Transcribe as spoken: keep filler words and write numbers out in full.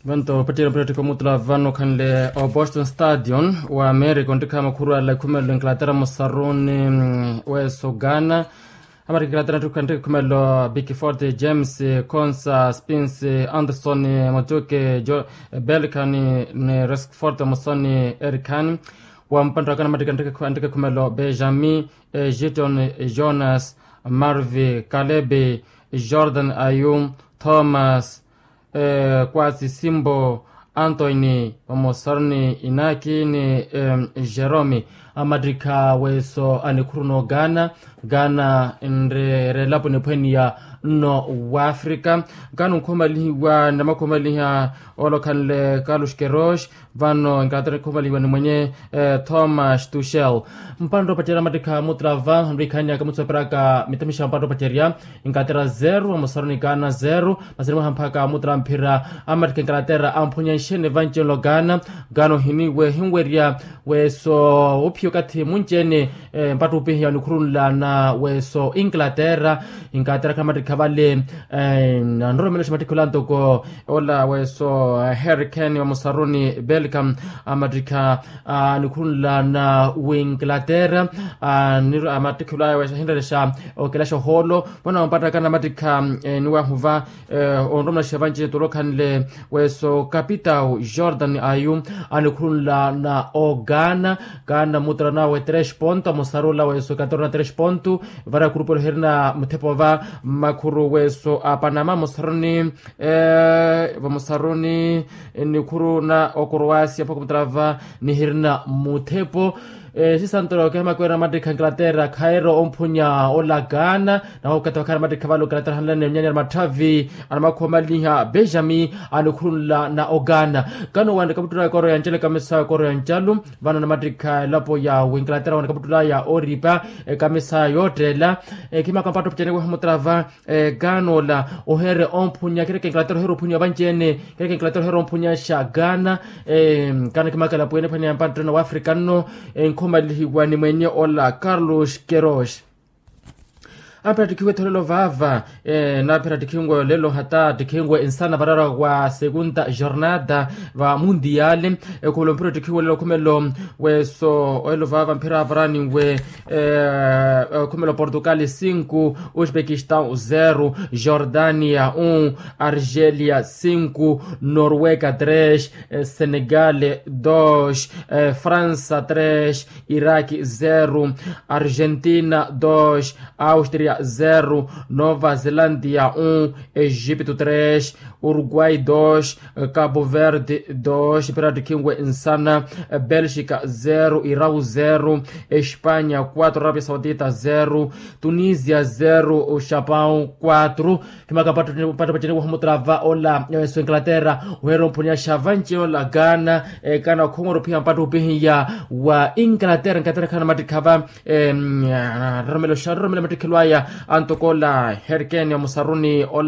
Vanto opattiya opattiya omutula vano khanle o boston stadion wa america ontikha makhuru ala ekhumelo inglaterra musaruni. Weso ghana. Amarika inglaterra ntikha ekhumelo bikifort james, consa spins, anderson, motuke, belkan, ni reskfort musoni erikhan. Wa mpantta wa kana amarika ntikha ekhumelo benjamin, giton, jonas, marvi, kalebe, jordan ayu, thomas, kwasi simbo, antoini, vamosaru ni inaki ni jeromi. Amattikha weso anikhuru n'oghana. Ghana nreera elapo niphweniya nno w'afrika. Ghana onkhumalihiwa ni namakhumalihya olokhanle carlos kerosh. Vano inglaterra nikhumalihwa ni mwenye thomas tushel. Mpantta opacerya amattikha mutrava nrikhanyaka mutsoperaka mitamixa mpantta opacerya. Inglaterra zero amusaruni ghana zero. Masini mwaha mphaka mutra mphira amattikha inglaterra amphunya nxene vanci-elo ghana. Ghana ohiniwe hinwerya weso ophiya okathi munci-ene. Mpatta opihiya onikhurunla na weso inglaterra. Inglaterra khamattikha vale anroromela xa mattikha ola ntoko ola weso harry kane wa musaruni belcam. Amattikha anikhurunla na winglaterra. Amattikha olaya weso ahinrelexa okelaxa ohoolo. Vano ampattaka namattikha eniwahuva onromela xa vanci-ene tolokhanle weso kapitau jordan ayu anikhurunla na oghana. Ghana mutra nawe tres ponto amusarula weso katorna tres ponto. Vara kurupelo hirina muthepo va makhuru weso a panama musaruni. Vamusaruni nikhuru na okroasia mpaka mutrava nihirina muthepo. Sisantoro kehe makwera mattikha inglaterra khairo omphunya ola ghana. Naho okathi wakhala mattikha vale inglaterra hanlane onyanyara matthavi anamakhuwa maliha benjamin anikhurunla na oghana. Ghana owanika muttula ya koro ya ncalo ekamisa ya koro ya ncalo. Vano namattikha elapo ya winglaterra wanika muttula ya oripa ekamisa yottela. Khimaka mpatta opicaniwa hamutrava. Ghana ola oheere omphunya khireke inglaterra oheere omphunya vanci-ene. Khireke inglaterra oheere omphunya xa ghana. Ghana khimaka elapo yene ephwene ya mpattirana wa afrika nno. Enkhumalihiwa ni mwenye ola carlos kerosh. Aphera tikhiwe etholelo vaava. Naphera tikhinwe olelo hata tikhinwe nsana varara wa segunda jornada va mundial. Ekhumelo mphira tikhinwe olelo khumelo weso olelo vaava mphira varani we. Khumelo portugal cinco, uzbekistan zero, jordania um, argelia cinco, norwega tres, senegal dos, frança tres, iraq zero, argentina dos, austria zero, nova zelandia um, egipto tres, uruguai dos, cabo verde dos, mphira tikhinwe nsana, belgica zero, irau zero, espanya quatro, arabia saudita zero, tunisia zero, chapão quatro. Khimaka mpatta opaceniwa hamutrava ola weso inglaterra oheere omphunya xa vanci-ene ola ghana. Ghana okhongora ophiya mpatta opihiya wa inglaterra inglaterra khana mattikha va. Roromela oxa roromela mattikhelo aya antoko ola harry kane wa musaruni ola